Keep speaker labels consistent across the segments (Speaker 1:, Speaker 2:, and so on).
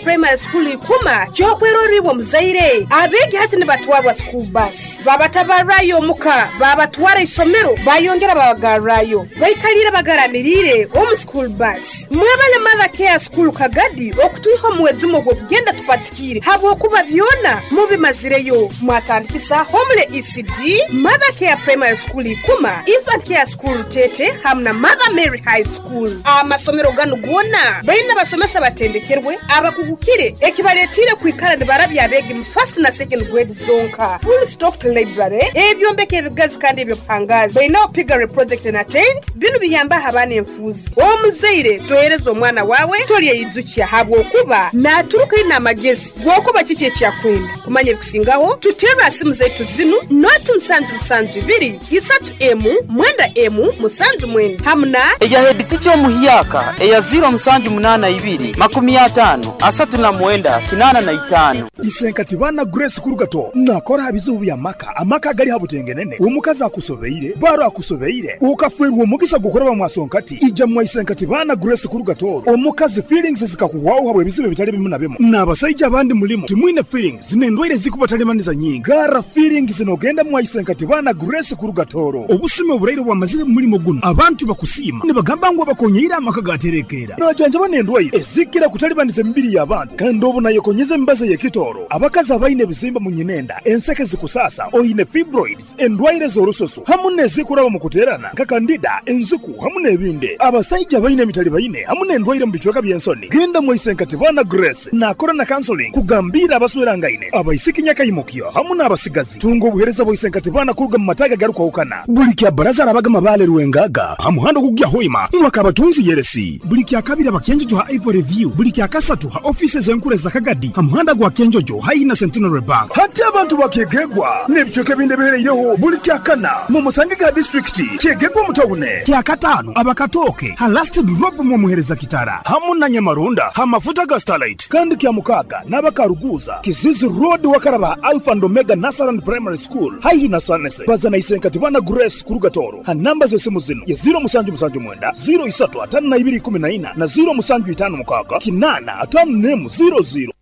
Speaker 1: Primary School Ikuma ky'okwerorra iwe omuzaire. Abeegi hati nibatwarwa school bus, babatabarrayo omuka, babatwara isomero, bayongera babagarrayo. Baikaliire bagaramiriire omu school bus. Mwebale Mother Care School Kagadi okutwiha omu wejumo ogw'okugenda tupatikiire habwokuba byona mubimazireyo. Mwatandikisa Homely ECD, Mother Care Primary School Ikuma, Infant Care School Rutete hamu na Mother Mary High School. Amasomero ganu goona baine abasomesa abatendekerwe, abakugukire ekibaletiire kwikara nibarabya abeegi mu first na second grade zonka. Full stocked library, ebyombeko ebigazi kandi eby'obuhangaazi. Baineho piggery project and attained, binu biyambaho abaana enfuuzi. Omuzaire tohereza omwana waawe tolyeyijukya habwokuba naaturuka aine amagezi g'okuba kiki eki akwenda. Kumanya ebikusingaho, tuterre ha simu zaitu zinu, noti musanju musanju ibiri, isatu emu, mwenda emu, musanju mwenda hamu na.
Speaker 2: Eya heeditica omuhyaka eya ziiro musanju munaana ibiri, 50, 39, 85.
Speaker 3: Isenkati baana Grace Kurugato nakora aha bizibu by'amaka, amaka agali ha butengenene, omukazi akusobeire, baro akusobeire, okafeerwa omugisa gw'okuraba mwa Sonkati, ija mwa Isenkati baana Grace Kurugato, omukazi feelings zikakuhwaho habw'ebizibu ebitali bimu na bimu, n'abasaija abandi mulimu timwine feelings n'endwaire ezikubatalibaniza nyingi, garra feelings n'ogenda mwa Isenkati baana Grace Kurugatoro. Obusumi oburaire obwamazire mu mulimo gunu, abantu bakusiima nibagamba ngu abakonyeire amaka gaterekeera. Najanjaba n'endwaire ezikira kutalibaniza emibiri y'abantu kandi obu nayekonyeza emibazi ey'ekitooro. Abakazi abaine ebizimba mu nyinenda, enseke zikusaasa, oine fibroids, endwaire z'orususu hamu n'ezikuraba omu kuteerana nka kandida, enziku hamu n'ebindi. Abasaija abaine emitalibaine hamu n'endwaire omu bicweka by'ensoni, genda mwaise Nkatibana Grace naakora na counseling kugambiira abaswerangaine, abaisiki nyakaimukyo hamu n'abasigazi. Tunga obuheereza bwa Isenkatibana kuruga mu mataagi agarukwahukana. Buli kya Baraza arabaga Mabaale Rwengaga ha muhanda ogukugya Hoima mwaka Abatunzi Yeresi. Buli kya Kabiri aba Kyenjojo ha Ivory View. Buli kya Kasatu ha ofiisi ez'enkuru eza Kagadi ha muhanda gwa Kyenjojo haihi na Centenary Bank. Hati abantu ba Kyegegwa n'ebicweka ebindi ebihereireho buli kya Kana mumusangege ha disiturikiti Kyegegwa omu tawune. Kya Kataano aba Katooke ha Last Drop mwomuhereza Kitara hamu na Nyamarunda ha mafuta ga Starlight. Kandi kya Mukaaga n'aba Karuguuza, Kizizi Road wakaraba ha Alpha and Omega Nursery and Primary School haihi na Sanese. Baza na Isenkatibana Grace kuruga Tooro ha namba z'esimu zinu ye ziiro musanju musanju mwenda, ziiro isatu ataano na ibiri ikumi na ina na ziiro musanju itaano mukaaga kinaana ataano n'emu ziiro ziiro.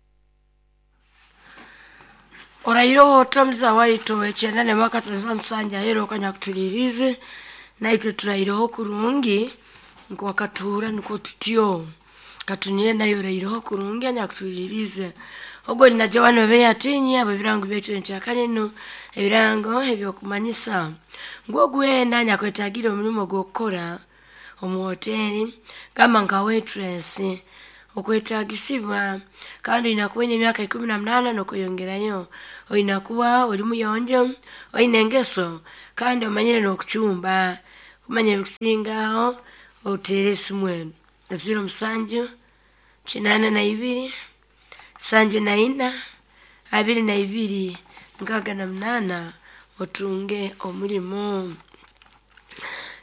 Speaker 4: Oraireho ota muza waitu ow'ekyenda n'emwaka za musanju aheeru okanyakutuliiriize, naitwe turaireho kurungi nukwo akatuhurra nukwo tutyo. Katunire nayo oraireho kurungi anyakutuliiriize. Ogu oli na Joan Obeya Atinyi habw'ebirango byaitu enkyakara enu, ebirango eby'okumanyisa ngu ogu weena anyakwetagire omulimo gw'okukora omu hoteeri gamba nka waitress, okwetaagisibwa kandi oine kuba oine emyaka 18 n'okweyongerayo. Oine kuba oli muyonjo, oine engeso kandi omanyire n'okucumba. Kumanya ebikusingaho oteere esimu enu, ziiro musanju, 82, 74, 22, 68 otunge omulimo.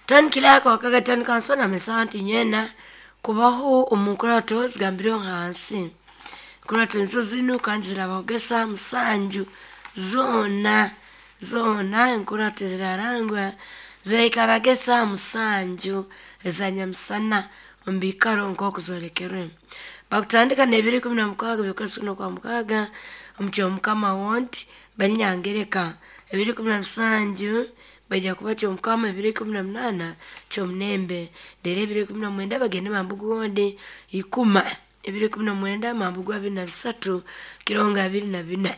Speaker 4: Town Clerk wa Kagadi Town Council namanyisa abantu inywena kubaho omu nkurato zigambireho hansi. Enkurato nizo zinu kandi zirabahogesa musanju zoona zoona enkurato zirarangwa ziraikaraga esaaha musanju eza nyamusana omu biikaro nk'oku zolekerwe. Bakutandika n'ebiro 16 by'okwezi kuno kwa mukaaga omu Kyomukama Ward Banyangereka. Ebiro 17 baija kuba Kyomukama, ebiro 18 Kyomunembe. Reero ebiro 19 bagende Mambugu Ward Ikuma. Ebiro 19 Mambugu 23 Kirongo 24.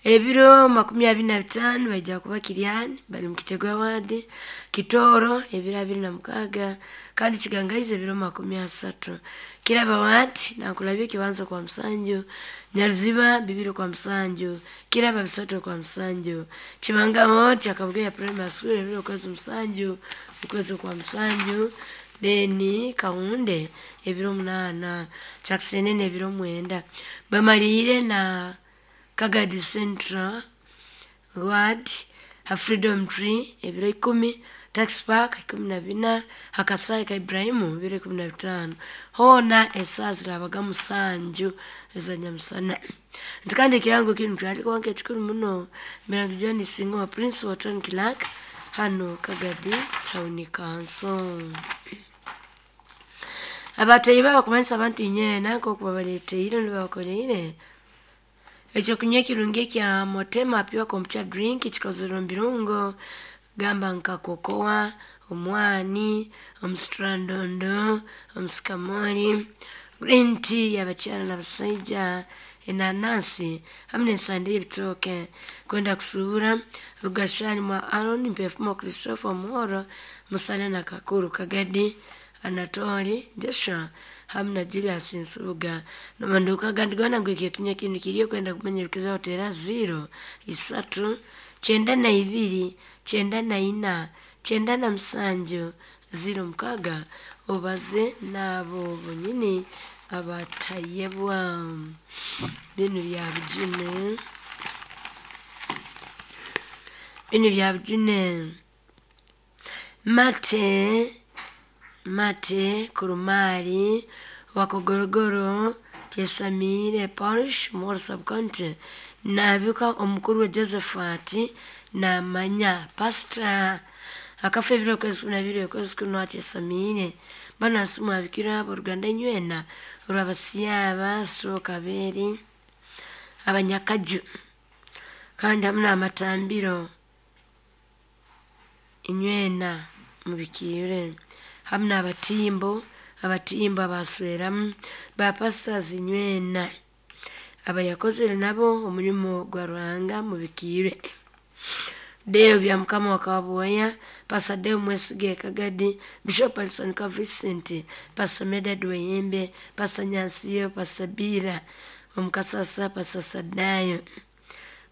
Speaker 4: Ebiro 25 baija kuba Kiryani bali mu Kitego Ward, Kitooro ebiro 26 kandi Kigangaizi ebiro 30. Kiraba Ward Nankulabye Ekibanza kwa musanju, Nyaruziba bibiri kwa musanju, Kiraba bisatu kwa musanju. Kibanga Ward Akabugeya Primary School ebiro okwezi musanju, okwezi kwa musanju, then Kahunde ebiro 8, Kyakisenene ebiro 9. Bamaliire na Kagadi Central Ward ha Freedom Tree ebiro 10, Tax Park 14, Hakasai ka Ibrahimu ebiro 15. Hoona esaaha zirabaga musanju eza nyamusana. Nti kandi ekirango kinu kyalikuba nk'ekikuru muno Mirangi John Singo wa Principal Town Clerk hanu Kagadi Town Council. Abatayi babakumanyisa abantu inyeena nk'oku babaleeteire nibabakoleire ekyokunywa ekirungi ekya Motema Pure Kombucha Drink kikozerwe omu birungo gamba nka kokoa, omwani, omusitrandondo, omusikamoli, green tea y'abakyara n'abasaija, enanasi hamu n'ensande y'ebitooke. Kwenda kusuubura Rugashani mwa Aaron Mpefumo Christopher Omuhoro Musana na Kakuru Kagadi Anatoli Joshua hamu na Julius Nsubuga nomanduka gandi gona ngu ekyokunywa kinu kiriyo. Kwenda kumanya ebikizaho teera 0 3 92 94 97 06 obaze n'abo bonyini abatayebwa. Binu bya bujune, binu bya bujune. Mate mate kurumali wakogorogoro Kesamire Parish Moro Subcounty nabika omukuru we Josephat namanya pastor akafa ebiro kwezi 12 okwezi kuno akyesamire bano nsimu abikira aboruganda inywena olwabasiaba sokaberi abanyakaju kandi hamu n'amatambiro inywena mubikire hamu n'abatimbo abatimbo abasweramu bapastors inywena abayakozere nabo omulimo gwa Ruhanga mubikire. Deo bya Mukama wakaboya Pastor Deo Mwesige Kagadi, Bishop Alison Vincent, Pastor Medad Weyembe, Pastor Nyansiyo, Pastor Bira Omukasasa, Pastor Sadayo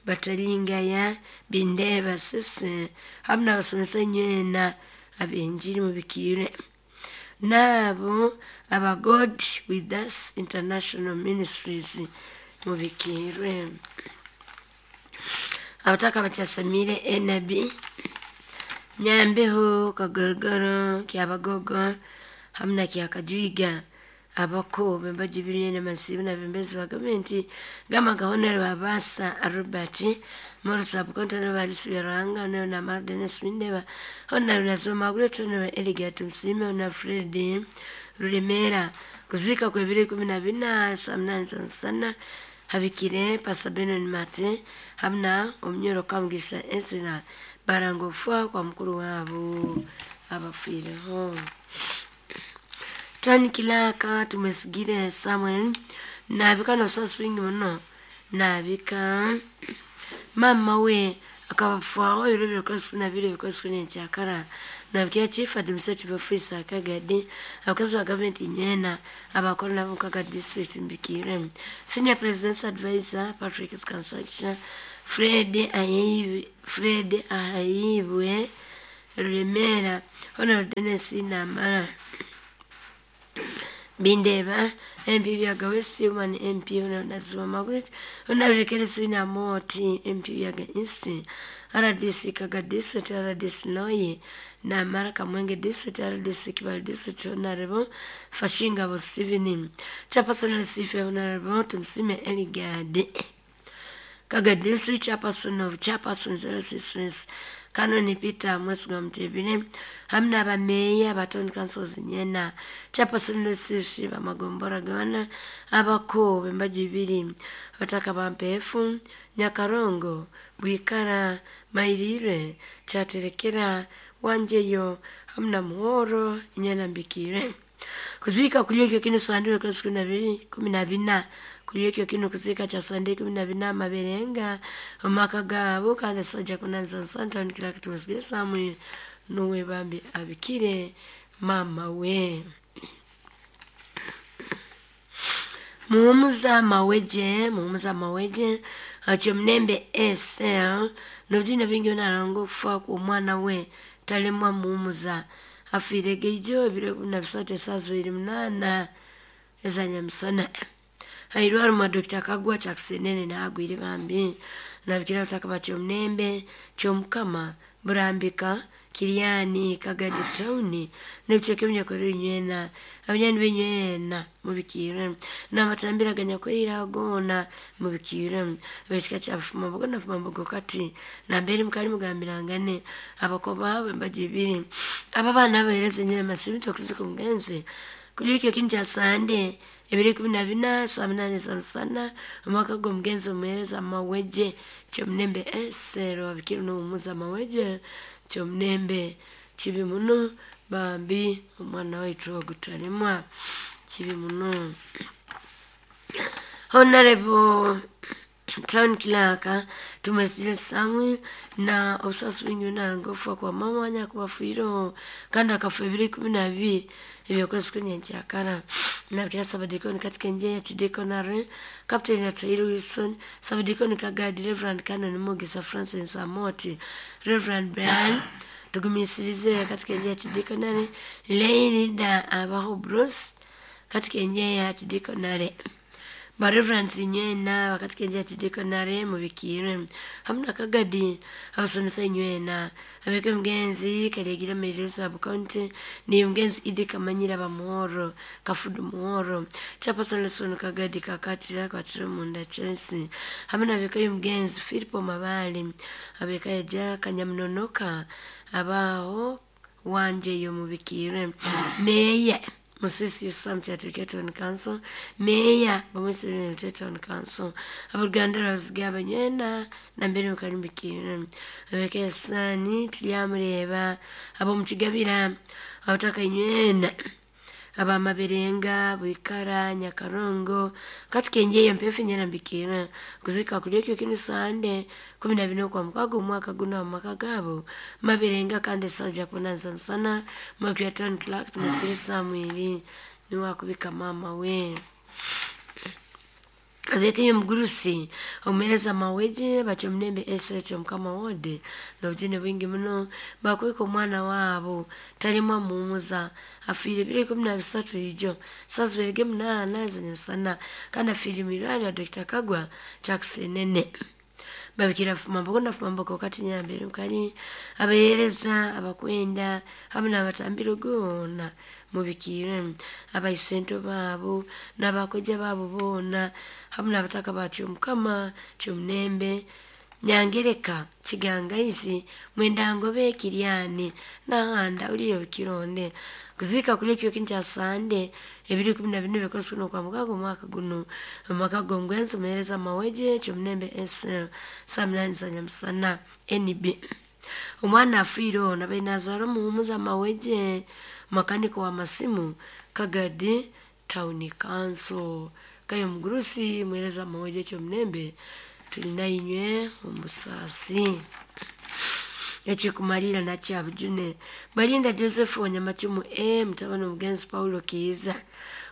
Speaker 4: Batalingaya Bindeba Sese hamu n'abasomesa inywena ab'enjiri mubikire n'abo aba God with Us International Ministries mubikirwe. Abataka bakyasamire enabi Nyambeho Kagorogoro Kyabagogo hamu na Kyakajwiga abako bembaji birinyene masibu na bembezi wa gavumenti gama gahonere babasa Robert Moro Subcounty no balisi bya Ruhanga no na Mardenes Mindeba hona nasoma Margaret no Eligat Msime na Fred Rulemera kuzika kwa ebiro 14 saa 8 za msana habikire Pastor Benon Mate hamu na omunyoro Kamugisha Ezra barangofwa kwa mukuru wabo abafiireho. Tani Kilaka tumesigire Samuel nabika no spring muno nabika mama we akabafwaho ebiro bibiri kwezi 12 kwezi 14 nabikira chief administrative officer Kagadi abakozi ba gavumenti inywena abakora nabo Kagadi district mbikire senior president's advisor Patrick Skansacha Fred Ahayibwe Rulemera Honorable Dennis Namara Bindeba MP Byaga West Woman MP Honorable Naziwa Margaret Honorable Kelesi Moti MP Byaga East RDC Kaga District RDC Loyi Namara Kamwenge District RDC Kibale District Honorable Fashinga Bosivini Chairperson Lesife Honorable Tumsime Eligade Kaga District Chairperson of Chairperson 06 Kanoni Peter Mwesiga Mutebile hamu n'abameeya abatoni councils nyena Chairperson Lesishi bamagombora gona abako bembaju ibiri bataka bampefu Nyakarongo Bwikara Mairire Chaterekera Wanjeyo hamu na Muhoro inyena mbikire kuzika kuliyokyo kino sandure kwezi 14 kuliyokyo kino kuzika cha sande 14 maberenga omaka gabo kandi soja kunanza nsanta nikila kitumasigire Samuel nuwe bambi abikire mama we. Muhumuza maweje acho mnembe SL nobjina bingi narongo kufa ku mwana we talemwa muhumuza afire geijo ebiro 13 saa 28 ezanyamisana hairwara mwa Dr. Kagwa chakusenene na agwire bambi nabikira utaka bakyo mnembe kyomukama burambika Kiriani Kagadi Town n'ebicweka ebinyakorera inywena abanyani b'inywena mubikire n'amatambira ganyakwera gona mubikire abekika kya Fumambogo na Fumambogo kati nambere mukali mugambirangane abakoba embaji ibiri aba bana abahereza nyine masibi tokuzika omugenzi Kuliko kintu kya Sande 2014 saa 8 za msana omwaka gw'omugenzi omuheereza Maweje Kyomunembe esero abikiro n'omuza Maweje Kyomunembe. Kibi muno bambi, omwana waitu ogutalemwa, kibi muno. Honorable Town Clerk Tumesile Samuel na obusasi bwingi nangofa kwa mama wanya kubafuireho kandi akafa 2012 ebyokwezi kunyenkyakara nabikira Sabadikoni katika njia ya Tidekonare Captain Atairu Wilson Sabadikoni Kagadi Reverend Canon Mugisa Francis Amoti Reverend Brian tugumisirize katika njia ya Tidekonare Leirida Abaho Bruce katika njia ya Tidekonare Bareverends inywena bakatika njia ya Tidekonare mubikire hamna Kagadi abasomesa inywena abeke mgenzi kalegira maelezo ya county ni mgenzi Idi Kamanyira bamuhoro Kafudu muhoro Chapason Lesson Kagadi kakatira kwatira munda Chelsea hamna abeke mgenzi Filipo Mabali abeka eja Kanyamnonoka abaho wanje yo mubikire meya Musisi Yusam Chatekete Town Council, Meya Bamusiri Town Council, Abaganda Razgaba Nyena, Nambere Mukarumbikire, Abeke Sani, Tilyamureba, Abomukigabira, Abataka Nywena, Abamaberenga, Bwikara, Nyakarongo, katika enjeyo mpefu nyerambikira, kuzika kulyokyo kinu Sande, 14 kwa mukago omwaka guno mu maka gaabo Maberenga kandi essaawa kunanza musana Mwakira Town Clerk Tumusire Samuel niwe akubika maama we. Abekenya omugurusi omuheereza Maweje Bakyomunembe esero Kyomukama wode n'obujune bwingi muno bakubika omwana waabo talimwa muhumuza afiire 2013 ijo saa ziberege 8 z'emisana kandi afiire mu irwariro Dr. Kagwa Kyakusenene. Babikira fumamboko na fumamboko kati nyambere mukali abahereza abakwenda hamwe n'abatambiro goona mubikire abaisento baabo n'abakoja baabo boona hamwe n'abataka ba Kyomukama Kyomunembe Nyangereka Kigangaizi Mwendangobe Kiryani Nahanda uliyo Kironde kuzika kulyokyo kintu kya Sande 2014 bikosi kuno kwa mukago omwaka guno omumaka g'omugwenzi omuheereza Maweje Kyomunembe SL saa 8 za nyamusana NB. Omwana afiire ono abaire nazaara omuhumuza Maweje makaniko wa masimu Kagadi Town Council kayo omugurusi muheereza Maweje Kyomunembe tulina inywe omusaasi. Ekikumalira nakyabujune Balinda Joseph Wanyamacumu mutabani omugenzi Paulo Kiiza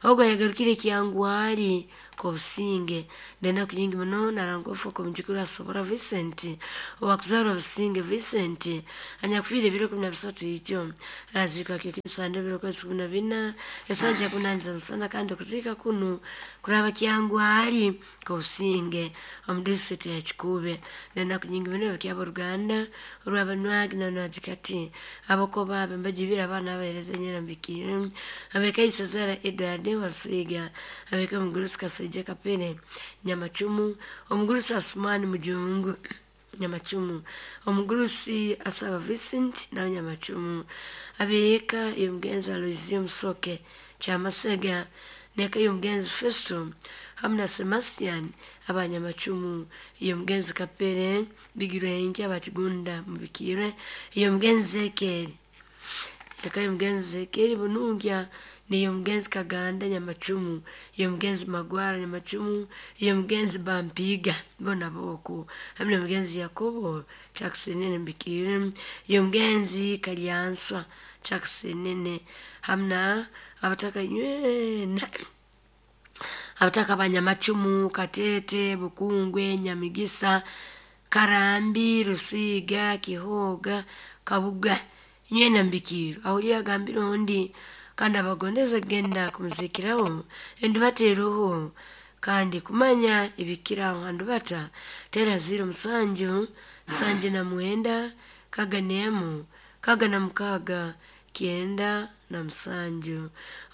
Speaker 4: ogwo yagarukire kyangwali kobusinge ndenaku nyingi muno narangofu okumujukuru asobora Vincent owakuzarwa Businge Vincent anyakufiire 2013 ijo arazikwa kyekisande 2014 esanja kunanza musana kandi okuzika kunu kuraba kyangwali kobusinge omu disitulikiti ya Kikuube. Ndenaku nyingi muno ebyaboruganda orwabanwagi nanwagikati abakoba abe mbajibira abaana abahereza nyerambikire abekaisa Zara Edward Warusiga abeka omugurusi Kasaija Kapere Nyamacumu omugurusi Asumani Mujungu Nyamacumu omugurusi Asaba Vincent nawe Nyamacumu abeeka y'omugenzi Aloysius Musoke Kyamasega neka y'omugenzi Festo hamwe na Sebastian abanyamacumu y'omugenzi Kapere Bigirwenke abakigunda mubikire y'omugenzi Zekeri eka y'omugenzi Zekeri Bunungya niyo mugenzi Kaganda Nyamacumu y'omugenzi Magwara Nyamacumu y'omugenzi Bampiga bona boku hamwe n'omugenzi Yakobo Kyakusenene mbikire y'omugenzi Kalyanswa Kyakusenene hamwe na abataka nywena abataka Banyamacumu Katete Bukungwe Nyamigisa Karambi Rusiga Kihoga Kabuga nywena mbikiro ahulira agambira ondi kandi abagondeze kugenda kumuzikiraho endubateeroho kandi kumanya ebikiraho handubata tera 07 79 6 6 97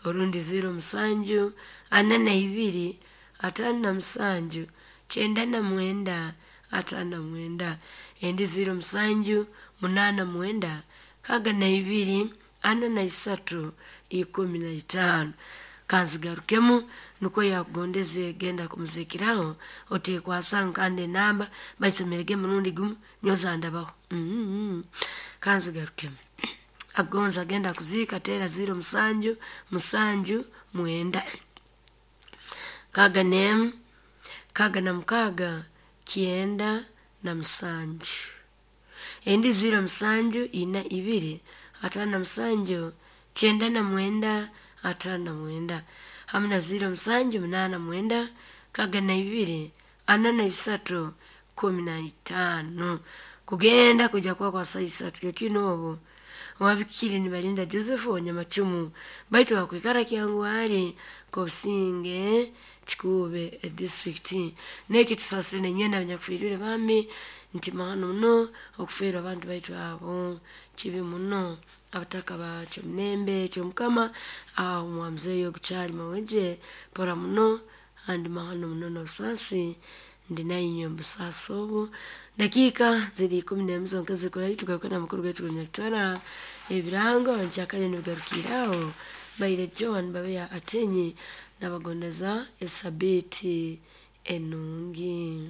Speaker 4: orundi 07 42 57 99 59 endi 07 89 62 43 15. Kanzigarukemu nukwo yakugondeze genda kumuzikiraho otekwasa kandi enamba baisomerege murundi gumu nyoza ndabaho. Kanzigarukemu agonza agenda kuziika tera 0 7 7 9 6 1 6 97 endi 0 7 4 2 5 7 99 59 hamwe na 0 7 8 9 6 2 43 15 kugenda kuja kwa kwa saa isatu kyokino obo wabikiri nibalinda Joseph Wanyamacumu baitu bakwikara kyangu hali kobusinge kikube edistrict neki tusasire nenywe nabanyakufirire bami nti mahano muno okuferwa abantu baitu abo kibi muno abataka ba kyomunembe kyomukama aho mwamuzeeyo ogukyali maweje pora muno andi mahano muno n'obusaasi ndi nainywe mubusaasi obu. Dakiika ziri 11 zonka zikurayo tugaruke na mukuru gaitu Nyakitara ebirango nkyakale nibigarukiraho baire John Babeya Atenyi nabagondeza esabiiti enungi.